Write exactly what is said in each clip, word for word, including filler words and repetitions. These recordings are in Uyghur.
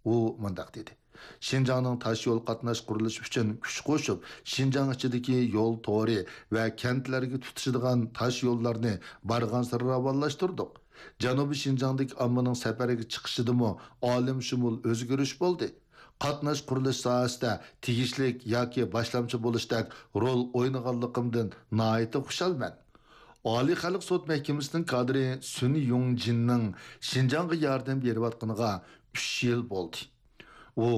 ئۇ مۇنداق دېدى: شىنجاڭنىڭ تاش يول قاتناش قۇرۇلۇشى ئۈچۈن كۈچ قوشۇپ، شىنجاڭ ئىچىدىكى يول تورى ۋە كەنتلەرگە تۇتىشىدىغان تاش يوللارنى بارغانسېرى راۋانلاشتۇردۇق. جەنۇبىي شىنجاڭدىكى ئاممىنىڭ سەپەرگە چىقىشىدىمۇ ئالەمشۇمۇل ئۆزگىرىش بولدى. قاتناش قۇرۇلۇش ساھەسىدە تېگىشلىك ياكى باشلامچى بولۇشتەك رول ئوينىغانلىقىمدىن ناھايىتى خۇشالمەن. ئالىي خەلق سوت مەھكىمىسىنىڭ كادىرى سۈن يۇڭجىننىڭ شىنجاڭغا ياردەم بېرىۋاتقىنىغا ئۈچ يىل بولدى. ئۇ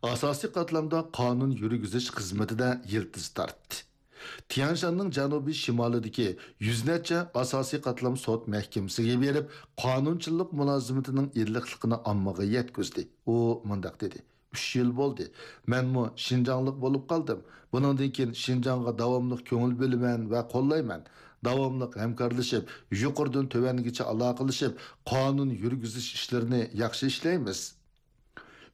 ئاساسىي قاتلامدا قانۇن يۈرگۈزۈش خىزمىتىدە يىلتىز تارتتى. تيەنشاننىڭ جەنۇبىي شىمالىدىكى يۈز نەچچە ئاساسىي قاتلام سوت مەھكىمىسىگە بېرىپ، قانۇنچىلىق مۇلازىمىتىنىڭ ئىللىقلىقىنى ئاممىغا يەتكۈزدى. ئۇ مۇنداق دېدى: ئۈچ يىل بولدى، مەنمۇ شىنجاڭلىق بولۇپ قالدىم. بۇنىڭدىن كېيىن شىنجاڭغا داۋاملىق كۆڭۈل بۆلىمەن ۋە قوللايمەن. داۋاملىق ھەمكارلىشىپ، يۇقىرىدىن تۆۋەنگىچە ئالاقىلىشىپ، قانۇن يۈرگۈزۈش ئىشلىرىنى ياخشى ئىشلەيمىز.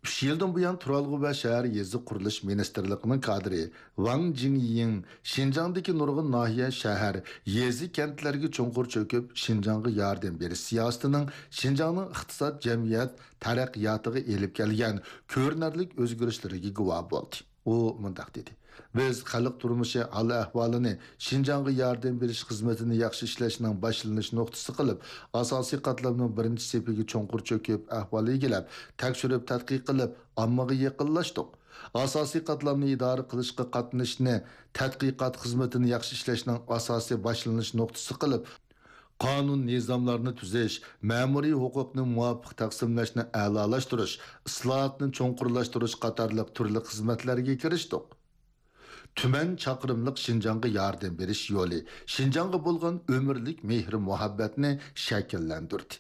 ئۈچ يىلدىن بۇيان، تۇرالغۇ ۋە شەھەر يېزا قۇرۇلۇش مىنىستىرلىقىنىڭ كادىرى ۋاڭ جىڭيىڭ شىنجاڭدىكى نۇرغۇن ناھىيە، شەھەر، يېزا، كەنتلەرگە چوڭقۇر چۆكۈپ، شىنجاڭغا ياردەم بېرىش سىياسىتىنىڭ شىنجاڭنىڭ ئىقتىساد، جەمئىيەت تەرەققىياتىغا ئېلىپ كەلگەن كۆرۈنەرلىك ئۆزگىرىشلىرىگە گۇۋاھ بولدى. ئۇ مۇنداق دېدى: بىز خەلق تۇرمۇشى ھال-ئەھۋالىنى شىنجاڭغا ياردەم بېرىش خىزمىتىنى ياخشى ئىشلەشنىڭ باشلىنىش نۇقتىسى قىلىپ، ئاساسىي قاتلامنىڭ بىرىنچى سېپىگە چوڭقۇر چۆكۈپ، ئەھۋال ئىگىلەپ، تەكشۈرۈپ تەتقىق قىلىپ، ئاممىغا يېقىنلاشتۇق. ئاساسىي قاتلامنى ئىدارە قىلىشقا قاتنىشىشنى تەتقىقات خىزمىتىنى ياخشى ئىشلەشنىڭ ئاساسىي باشلىنىش نۇقتىسى قىلىپ، قانۇن نىزاملارنى تۈزۈش، مەمۇرىي ھوقۇقنى مۇۋاپىق تەقسىملەشنى ئەلالاشتۇرۇش، ئىسلاھاتنى چوڭقۇرلاشتۇرۇش قاتارلىق تۈرلۈك خىزمەتلەرگە كىرىشتۇق. تۈمەن چاقىرىملىق شىنجاڭغا ياردەم بېرىش يولى شىنجاڭغا بولغان ئۆمۈرلۈك مېھرى-مۇھەببەتنى شەكىللەندۈردى.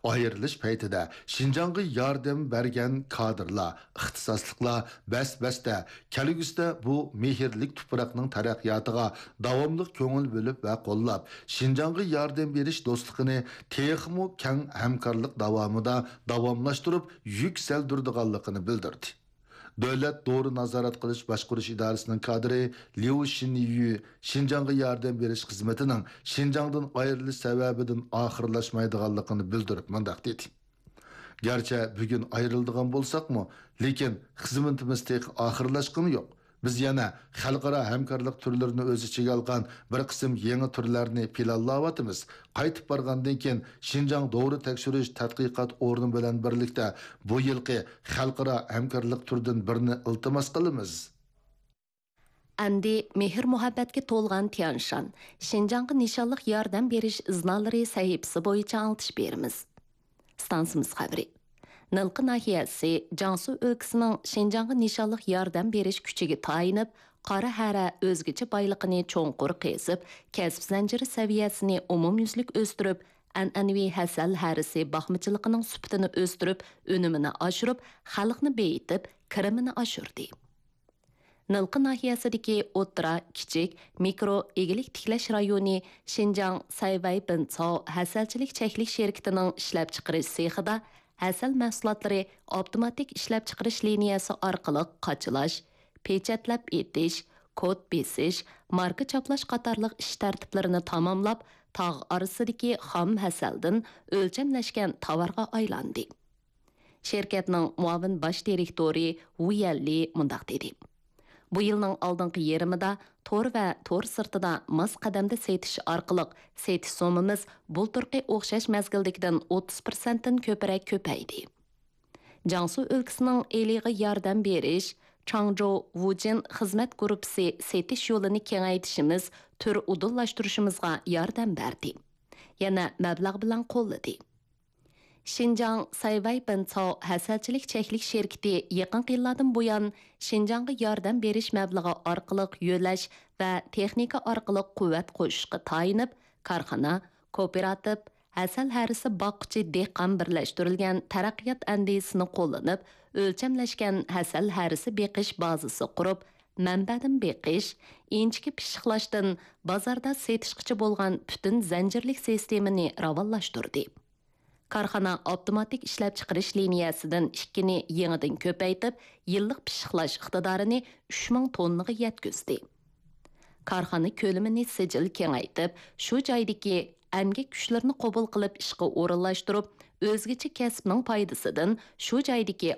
ئايرىلىش پەيتىدە شىنجاڭغا ياردەم بەرگەن كادىرلار، ئىختىساسلىقلار بەس-بەستە كەلگۈسىدە بۇ مېھىرلىك تۇپراقنىڭ تەرەققىياتىغا داۋاملىق كۆڭۈل بۆلۈپ ۋە قوللاپ، شىنجاڭغا ياردەم بېرىش دوستلۇقىنى تېخىمۇ كەڭ ھەمكارلىق داۋامىدا داۋاملاشتۇرۇپ يۈكسەلدۈرىدىغانلىقىنى بىلدۈردى. دۆلەت دورا نازارەت قىلىش باشقۇرۇش ئىدارىسىنىڭ كادىرى ليۇ شىنيۈ شىنجاڭغا ياردەم بېرىش خىزمىتىنىڭ شىنجاڭدىن ئايرىلىش سەۋەبىدىن ئاخىرلاشمايدىغانلىقىنى بىلدۈرۈپ مۇنداق دېدى: گەرچە بۈگۈن ئايرىلىدىغان بولساقمۇ، لېكىن خىزمىتىمىز تېخى ئاخىرلاشقىنى يوق. بىز يەنە خەلقئارا ھەمكارلىق تۈرلىرىنى ئۆز ئىچىگە ئالغان بىر قىسىم يېڭى تۈرلەرنى پىلانلاۋاتىمىز. قايتىپ بارغاندىن كېيىن، شىنجاڭ دورا تەكشۈرۈش تەتقىقات ئورنى بىلەن بىرلىكتە بۇ يىلقى خەلقئارا ھەمكارلىق تۈرىدىن بىرنى ئىلتىماس قىلىمىز. ئەمدى مېھىر-مۇھەببەتكە تولغان تيانشان، شىنجاڭغا نىشانلىق ياردەم بېرىش ئىزنالىرى سەھىپىسى بويىچە ئاڭلىتىش بېرىمىز. ئىستانسىمىز خەۋىرى. نىلقا ناھىيەسى جياڭسۇ ئۆلكىسىنىڭ شىنجاڭغا نىشانلىق ياردەم بېرىش كۈچىگە تايىنىپ، قارا ھەرە ئۆزگىچە بايلىقىنى چوڭقۇر قېزىپ، كەسىپ زەنجىرى سەۋىيەسىنى ئومۇميۈزلۈك ئۆستۈرۈپ، ئەنئەنىۋى ھەسەل ھەرىسى باقمىچىلىقىنىڭ سۈپىتىنى ئۆستۈرۈپ، ئۈنۈمىنى ئاشۇرۇپ، خەلقنى بېيىتىپ، كىرىمىنى ئاشۇردى. نىلقا ناھىيەسىدىكى ئوتتۇرا، كىچىك، مىكرو ئىگىلىك تىكلەش رايونى شىنجاڭ سەيۋەي بىنچاۋ ھەسەلچىلىك چەكلىك شىركىتىنىڭ ئىشلەپچىقىرىش سېخىدا ھەسەل مەھسۇلاتلىرى ئاپتوماتىك ئىشلەپچىقىرىش لىنىيەسى ئارقىلىق قاچىلاش، پېچەتلەپ ئېتىش، كود بېسىش، ماركا چاپلاش قاتارلىق ئىش تەرتىپلىرىنى تاماملاپ، تاغ ئارىسىدىكى خام ھەسەلدىن ئۆلچەملەشكەن تاۋارغا ئايلاندى. شىركەتنىڭ مۇئاۋىن باش دىرېكتورى ۋۇ يەنلى مۇنداق دېدى: بۇ يىلنىڭ ئالدىنقى يېرىمىدا تور ۋە تور سىرتىدا ماس قەدەمدە سېتىش ئارقىلىق سېتىش سوممىمىز بۇلتۇرقى ئوخشاش مەزگىلدىكىدىن ئوتتۇز پىرسەنتتىن كۆپرەك كۆپەيدى. جياڭسۇ ئۆلكىسىنىڭ ئېلىغا ياردەم بېرىش، چاڭجو ۋۇجىن خىزمەت گۇرۇپپىسى سېتىش يولىنى كېڭەيتىشىمىز تۈر ئۇدۇللاشتۇرۇشىمىزغا ياردەم بەردى. يەنە مەبلەغ بىلەن قوللىدى. شىنجاڭ سەيۋەي بىنچاۋ ھەسەلچىلىك چەكلىك شىركىتى يېقىنقى يىللاردىن بۇيان، شىنجاڭغا ياردەم بېرىش مەبلىغى ئارقىلىق يۆلەش ۋە تېخنىكا ئارقىلىق قۇۋۋەت قوشۇشقا تايىنىپ، كارخانا، كوپىراتىپ، ھەسەل ھەرىسى باققۇچى دېھقان بىرلەشتۈرۈلگەن تەرەققىيات ئەندىزىسىنى قوللىنىپ، ئۆلچەملەشكەن ھەسەل ھەرىسى بېقىش بازىسى قۇرۇپ، مەنبەدىن بېقىش، ئىنچىكە پىششىقلاشتىن بازاردا سېتىشقىچە بولغان پۈتۈن زەنجىرلىك سىستېمىنى راۋانلاشتۇردى. كارخانا ئاپتوماتىك ئىشلەپچىقىرىش لىنىيەسىدىن ئىككىنى يېڭىدىن كۆپەيتىپ، يىللىق پىششىقلاش ئىقتىدارىنى ئۈچ مىڭ توننىغا يەتكۈزدى. كارخانا كۆلىمىنى سىجىل كېڭەيتىپ، شۇ جايدىكى ئەمگەك كۈچلىرىنى قوبۇل قىلىپ ئىشقا ئورۇنلاشتۇرۇپ، ئۆزگىچە كەسىپنىڭ پايدىسىدىن شۇ جايدىكى